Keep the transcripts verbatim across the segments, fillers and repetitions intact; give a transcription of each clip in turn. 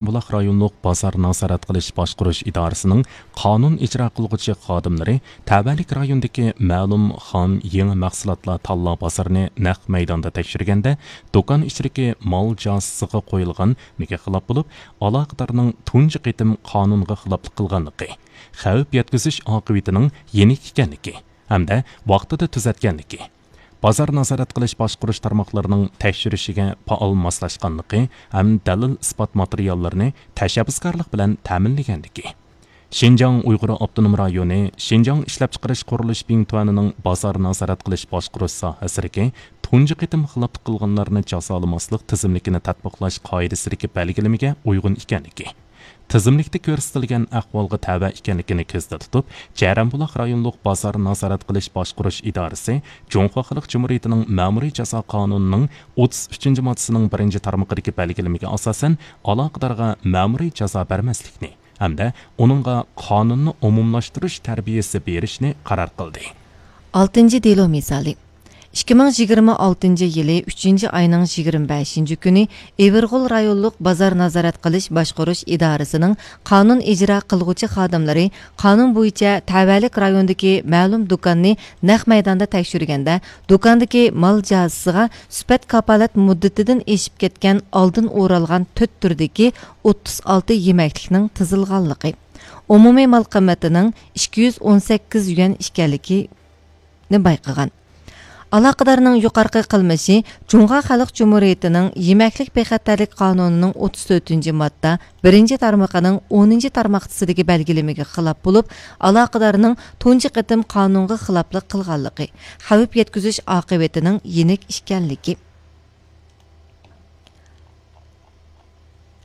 بۇلاق رايونلۇق بازار نازارەت قىلىش باشقۇرۇش ئىدارىسىنىڭ قانۇن ئىجرا قىلغۇچى خادىملىرى تەۋەلىك رايوندىكى مەلۇم خام يېڭى مەھسۇلاتلار تاللا بازىرىنى نەق مەيداندا تەكشۈرگەندە، دۇكان ئىچىدىكى مال جازىسىغا قويۇلغان ھۆكۈمگە خىلاپ بولۇپ، ئالاقىدارنىڭ تۇنجى قېتىم قانۇنغا خىلاپلىق قىلغانلىقى، خەۋپ يەتكۈزۈش ئاقىۋىتىنىڭ يېنىك ئىكەنلىكى ھەمدە ۋاقتىدا تۈزەتكەنلىكى، بازار نازارەت قىلىش باشقۇرۇش تارماقلىرىنىڭ تەكشۈرۈشىگە پائال ماسلاشقانلىقى ھەم دەلىل-ئىسپات ماتېرىياللىرىنى تەشەببۇسكارلىق بىلەن تەمىنلىگەنلىكى، شىنجاڭ ئۇيغۇر ئاپتونوم رايونى شىنجاڭ ئىشلەپچىقىرىش قۇرۇلۇش بىڭتۈەنىنىڭ بازار نازارەت قىلىش باشقۇرۇش ساھەسىدىكى تۇنجى قېتىم خىلاپلىق قىلغانلارنى جازالىماسلىق تىزىملىكىنى تەتبىقلاش قائىدىسىدىكى بەلگىلىمىگە ئۇيغۇن ئىكەنلىكى، تىزىملىكتە كۆرسىتىلگەن ئەھۋالغا تەۋە ئىكەنلىكىنى كۆزدە تۇتۇپ، جەرەنبۇلاق رايونلۇق بازار نازارەت قىلىش باشقۇرۇش ئىدارىسى جۇڭخۇا خەلق جۇمھۇرىيىتىنىڭ مەمۇرىي جازا قانۇنىنىڭ ئوتتۇز ئۈچىنچى ماددىسىنىڭ بىرىنچى تارمىقىدىكى بەلگىلىمىگە ئاساسەن، ئالاقىدارغا مەمۇرىي جازا بەرمەسلىكنى ھەمدە ئۇنىڭغا قانۇننى ئومۇملاشتۇرۇش تەربىيەسى بېرىشنى قارار قىلدى. ئالتىنچى دېلو مىسالى. ئىككى مىڭ يىگىرمە ئالتىنچى يىلى ئۈچىنچى ئاينىڭ يىگىرمە بەشىنچى كۈنى ئېۋىرغول رايونلۇق بازار نازارەت قىلىش باشقۇرۇش ئىدارىسىنىڭ قانۇن ئىجرا قىلغۇچى خادىملىرى قانۇن بويىچە تەۋەلىك رايوندىكى مەلۇم دۇكاننى نەق مەيداندا تەكشۈرگەندە، دۇكاندىكى مال جازىسىغا سۈپەت كاپالەت مۇددىتىدىن ئېشىپ كەتكەن ئالدىن ئورالغان تۆت تۈردىكى ئوتتۇز ئالتە يېمەكلىكنىڭ تىزىلغانلىقى، ئومۇمىي مال قىممىتىنىڭ ئىككى يۈز ئون سەككىز يۈەن ئىكەنلىكىنى بايقىغان. ئالاقىدارنىڭ يۇقىرىقى قىلمىشى جۇڭخۇا خەلق جۇمھۇرىيىتىنىڭ يېمەكلىك بىخەتەرلىك قانۇنىنىڭ ئوتتۇز تۆتىنچى ماددا بىرىنچى تارمىقىنىڭ ئونىنچى تارماقچىسىدىكى بەلگىلىمىگە خىلاپ بولۇپ، ئالاقىدارنىڭ تۇنجى قېتىم قانۇنغا خىلاپلىق قىلغانلىقى، خەۋپ يەتكۈزۈش ئاقىۋىتىنىڭ يېنىك ئىكەنلىكى.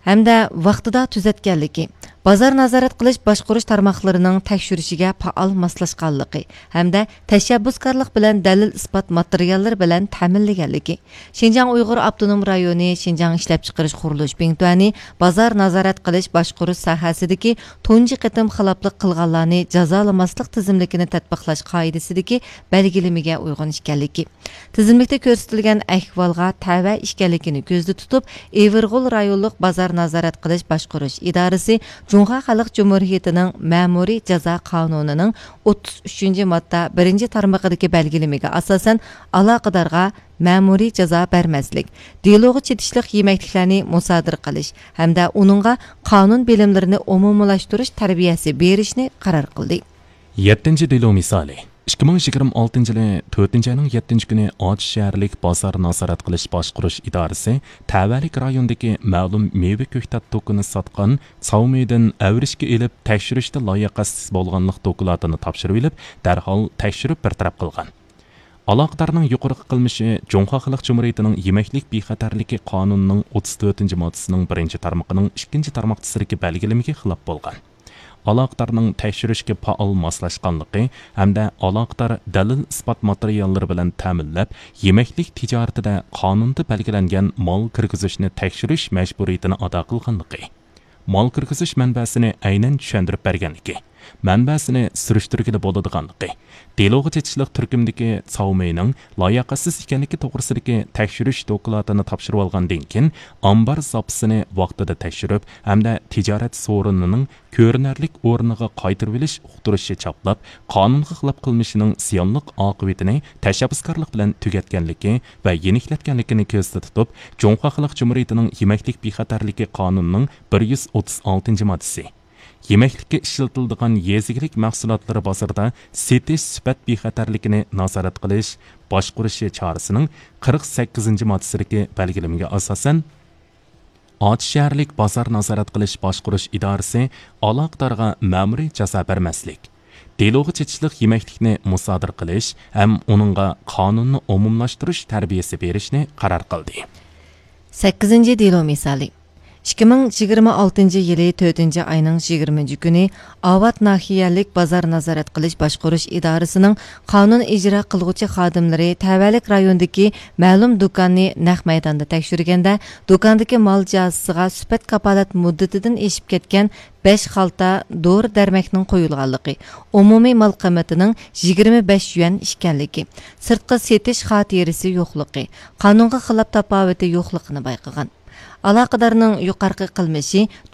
ھەمدە ۋاقتىدا تۈزەتكەنلىكى، بازار نازارەت قىلىش باشقۇرۇش تارماقلىرىنىڭ تەكشۈرۈشىگە پائال ماسلاشقانلىقى ھەمدە تەشەببۇسكارلىق بىلەن دەلىل-ئىسپات ماتېرىياللىرى بىلەن تەمىنلىگەنلىكى، شىنجاڭ ئۇيغۇر ئاپتونوم رايونى شىنجاڭ ئىشلەپچىقىرىش قۇرۇلۇش بىڭتۈەنى بازار نازارەت قىلىش باشقۇرۇش ساھەسىدىكى تۇنجى قېتىم خىلاپلىق قىلغانلارنى جازالىماسلىق تىزىملىكىنى تەتبىقلاش قائىدىسىدىكى بەلگىلىمىگە ئۇيغۇن ئىكەنلىكى، تىزىملىكتە كۆرسىتىلگەن ئەھۋالغا تەۋە ئىكەنلىكىنى كۆزدە تۇتۇپ، ئېۋىرغول رايونلۇق بازار نازارەت قىلىش باشقۇرۇش ئىدارىسى جۇڭخۇا خەلق جۇمھۇرىيىتىنىڭ مەمۇرىي جازا قانۇنىنىڭ ئوتتۇز ئۈچىنچى ماددا بىرىنچى تارمىقىدىكى بەلگىلىمىگە ئاساسەن، ئالاقىدارغا مەمۇرىي جازا بەرمەسلىك، دېلوغا چېتىشلىق يېمەكلىكلەرنى مۇسادىرە قىلىش ھەمدە ئۇنىڭغا قانۇن بىلىملىرىنى ئومۇملاشتۇرۇش تەربىيەسى بېرىشنى قارار قىلدى. يەتتىنچى دېلو مىسالى. ئىككى مىڭ يىگىرمە ئالتىنچى يىلى تۆتىنچى ئاينىڭ يەتتىنچى كۈنى ئاچ شەھەرلىك بازار نازارەت قىلىش باشقۇرۇش ئىدارىسى تەۋەلىك رايونىدىكى مەلۇم مېۋە كۆكتات دۇكىنى ساتقان ساۋمىدىن ئەۋرىشكە ئېلىپ تەكشۈرۈشتە لاياقەتسىز بولغانلىق دوكلاتىنى تاپشۇرۇۋېلىپ، دەرھال تەكشۈرۈپ بىر تەرەپ قىلغان. ئالاقىدارنىڭ يۇقىرىقى قىلمىشى جۇڭخۇا خەلق جۇمھۇرىيىتىنىڭ يېمەكلىك بىخەتەرلىكى قانۇنىنىڭ ئوتتۇز تۆتىنچى ماددىسىنىڭ بىرىنچى تارمىقىنىڭ ئىككىنچى تارماقچىسىدىكى بەلگىلىمىگە خىلاپ بولغان. ئالاقىدارنىڭ تەكشۈرۈشكە پائال ماسلاشقانلىقى ھەمدە ئالاقىدار دەلىل-ئىسپات ماتېرىياللىرى بىلەن تەمىنلەپ، يېمەكلىك تىجارىتىدە قانۇندا بەلگىلەنگەن مال كىرگۈزۈشنى تەكشۈرۈش مەجبۇرىيىتىنى ئادا قىلغانلىقى، مال كىرگۈزۈش مەنبەسىنى ئەينەن چۈشەندۈرۈپ بەرگەنلىكى، مەنبەسىنى سۈرۈشتۈرگىلى بولىدىغانلىقى، دېلوغا چېتىشلىق تۈركۈمدىكى ساۋمېينىڭ لاياقەتسىز ئىكەنلىكى توغرىسىدىكى تەكشۈرۈش دوكلاتىنى تاپشۇرۇۋالغاندىن كېيىن، ئامبار زاپىسىنى ۋاقتىدا تەكشۈرۈپ ھەمدە تىجارەت سورۇنىنىڭ كۆرۈنەرلىك ئورنىغا قايتۇرۇۋېلىش ئۇقتۇرۇشى چاپلاپ، قانۇنغا خىلاپ قىلمىشىنىڭ زىيانلىق ئاقىۋىتىنى تەشەببۇسكارلىق بىلەن تۈگەتكەنلىكى ۋە يېنىكلەتكەنلىكىنى كۆزدە تۇتۇپ، جۇڭخۇا خەلق جۇمھۇرىيىتىنىڭ يېمەكلىك بىخەتەرلىكى قانۇنىنىڭ بىر يۈز ئوتتۇز ئالتىنچى ماددىسى، يېمەكلىككە ئىشلىتىلىدىغان يېزا ئىگىلىك مەھسۇلاتلىرى بازىرىدا سېتىش سۈپەت بىخەتەرلىكىنى نازارەت قىلىش باشقۇرۇشى چارىسىنىڭ قىرىق سەككىزىنچى ماددىسىدىكى بەلگىلىمىگە ئاساسەن، ئاچ شەھەرلىك بازار نازارەت قىلىش باشقۇرۇش ئىدارىسى ئالاقىدارغا مەمۇرىي جازا بەرمەسلىك، دېلوغا چېتىشلىق يېمەكلىكنى مۇسادىرە قىلىش ھەم ئۇنىڭغا قانۇننى ئومۇملاشتۇرۇش تەربىيەسى بېرىشنى قارار قىلدى. سەككىزىنچى دېلو مىسالى. ئىككى مىڭ يىگىرمە ئالتىنچى يىلى تۆتىنچى ئاينىڭ يىگىرمىنچى كۈنى ئاۋات ناھىيەلىك بازار نازارەت قىلىش باشقۇرۇش ئىدارىسىنىڭ قانۇن ئىجرا قىلغۇچى خادىملىرى تەۋەلىك رايوندىكى مەلۇم دۇكاننى نەق مەيداندا تەكشۈرگەندە، دۇكاندىكى مال جازىسىغا سۈپەت كاپالەت مۇددىتىدىن ئېشىپ كەتكەن بەش خالتا دورا دەرمەكنىڭ قويۇلغانلىقى، ئومۇمىي مال قىممىتىنىڭ يىگىرمە بەش يۈەن ئىكەنلىكى، سىرتقا سېتىش خاتىرىسى يوقلۇقى، قانۇنغا خىلاپ تاپاۋىتى يوقلۇقىنى بايقىغان. ئالاقىدارنىڭ يۇقىرىقى قىلمىشى